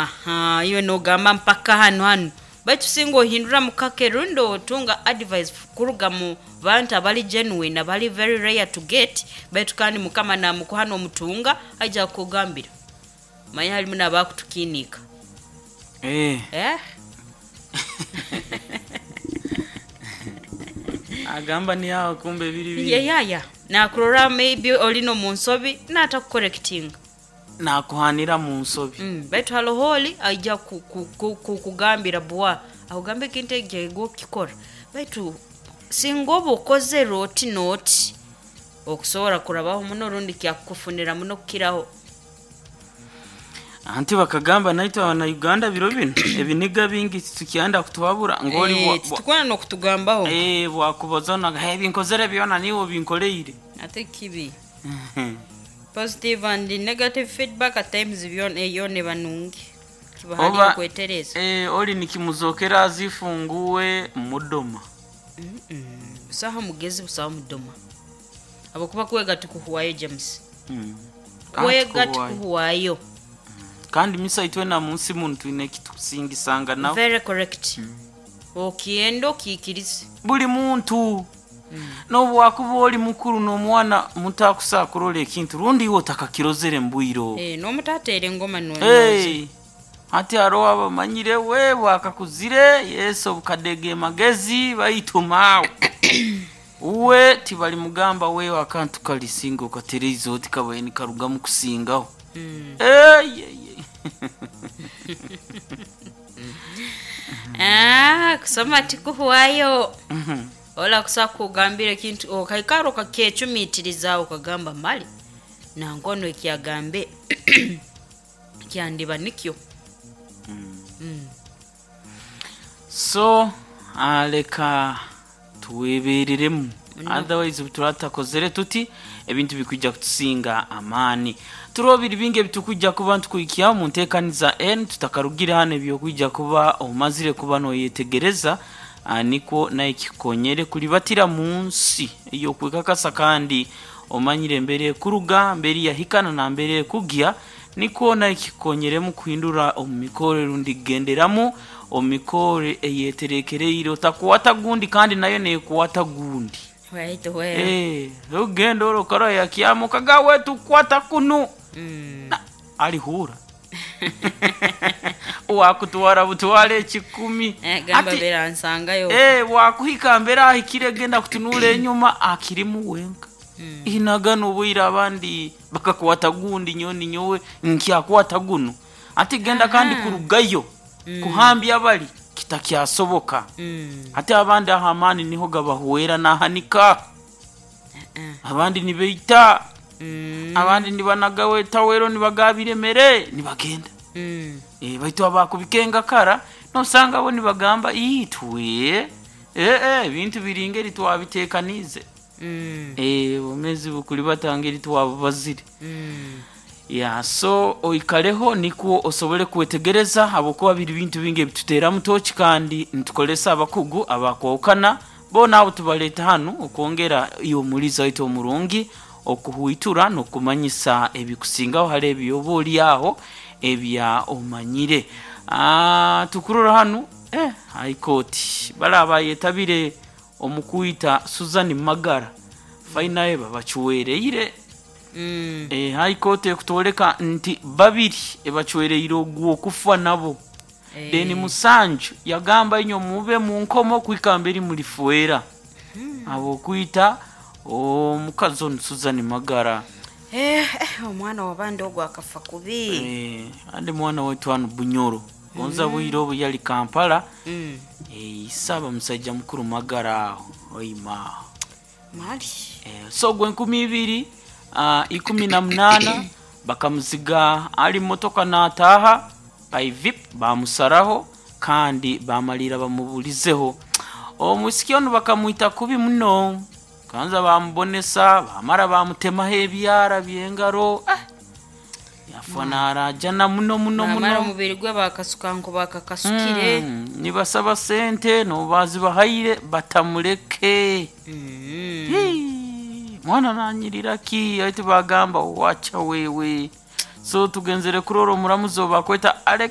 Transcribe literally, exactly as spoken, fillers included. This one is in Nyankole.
Aha, iwe nogamba mpaka hanu hanu, baitu singa ohindura mukake rundi otunga advice kuruga mu bantu abali genuine, abali very rare to get, baitu kandi Mukama namukuha nomutunga, aija kukugambira. Manya halimu n'abakutukiiniika. Eh. Eh? Agamba ni aho kumbe biri biri. Yeah, yeah, yeah. Nakurora maybe oli n'omu nsobi natakukorekitinga. Nakuhanira mu nsobi. Mm, baitu haloho oli aija ku- ku- ku- kukugambira bwa akugambe ekintu ekyo okukikora, baitu singa oba okozere oti n'oti okusobora kurabaho muno rundi kyakukufunira muno kukiraho. Anti bakagamba naitwe abana Uganda biro bino ebiniga bingi titukyanda kutuhabura ngoli Eh, bwa- bwa- titukwenda n'okutugambaho. Eh, bwakubaza na hey, binkozere byona niwo binkoleire. Ate kibi positive and negative feedback at times byona eyo neba nungi kiba hali Oba- okwetereza. Eh, oli nikimuzokera azifunguwe mudoma. Mm, busaho mugezi, busaho mudoma, abakuba kwega tukuhuwayo, James. Mm. Kwega Kandi tukuhuwayo. tukuhuwayo. Kandi misa itwe na munsi muntu twine kitukusingisanga nawe. Very correct. Okienda okiikirize. Buli muntu nobu wakuba oli mukuru n'omwana muto akusobola ekintu rundi iwe otakakirozere mbwiro. Eh, n'omutateera engoma no. Hey, hati hariho abamanyire we bwakakuzire yesu obukadege magezi baitu maawe uwe tibalimugamba wewe akantu kalisinga okatereiza oti kabaye nikarugamu kusingaho. Mm. Ey, ey, ey. Ah, kusoma tikuhuwayo. Mhm. Ola kusa kugambira ekintu okaikara okakyecumiitiriza okagamba mali nankono ekyagambe kyandiba nikyo. Mm. So ah, leka tuwebereremu, otherwise turatakozere tuti ebintu bikujja kutusinga amaani. Turiho biri bingi ebitukujja kuba ntukuhikyaho mu nteekaniza n tutakarugire hano ebyokwijja kuba omazire kuba noyetegereza, ah, nikwo naye kikonyere kulibatira mu nsi eyokwekakasa kandi omanyire embere ekuruga, mbere yahikana na mbere ekugya, nikwo naye kikonyeremu kuhindura omu mikore rundi kugenderamu omu mikore eyeterekereire otakuwata gundi kandi nayo nekuwata gundi. Right where? Eh, ogenda orokora yakyamuka gawe tukwata kunu. Mm. Na, alihura wakutwara butwara ekikumi. Eh, gamba Ati- beransangayo. Eh, wakuhika mbere ahikire genda kutunula enyuma akirimu wenka. Mm. Inagana obwire abandi bakakwata gundi nyoni nyowe nkyakwata guno ati genda kandi kurugayo kuhambya abali kitakyasoboka. Mm. Ate abandi aho amaani niho gabahuwera nahanika. Uh-uh. Abandi nibeita. Mm. Abandi nibanagawe tawero nibagabiremere nibagenda. Mm. e, baitu abakubikenga kara nosanga bo nibagamba itwe eh, eh, ebintu biringeri twabitekanize. Mm. e, obumezi bukuli batangeri twabubazire. Mm. Ya, so oikareho nikwo osobole kwetegereza habwokuba biri bintu bingi ebituteeramu toki kandi nitukolesa abakugu abakwawukana bo naabo tubaleeta hanu okwongera iwe omuliza waitu omurungi okuhwitura n'okumanyisa ebikusingaho hali ebyoba oli aho ebya omanyire. Ah, tukurora hanu eh, High Court bala abayetabire omu kwita Susan Magara fainaye babacwereire. Mm. E, High Court ekutwoleka nti babiri ebacwereire ogwo okufa nabo. Eh. Then musanju yagamba inyo mube mu nkomo kwika mberi mulifuera abo okwita omukazi ono Susan Magara. Eh, eh, omwana wabandi ogwo akafa kubi. Eh, andi mwana waitu hano Bunyoro gonza bwire obu yali Kampala. Mm. Eh, isaba musajja mukuru Magara aho oima. Mali. Eh, so gwe enkumi ibiri ah, ikumi na munana bakamuziga ali motoka nataaha paivip bamusaraho kandi bamalira bamubulizeho omwisiki ono bakamwita kubi muno kanza bamubonesa bamara bamutemaho ebyara byengaro, eh, yafa narajana muno muno Bamara muno. omubiri gwe bakasuka nko bakakasukire. Mm, nibasaba sente nobazibahaire batamuleke. Mm. Hii, mwana nanyirira ki ati bagamba wacha wewe. So tugenzere kurora omuramuzi obakweta Alex.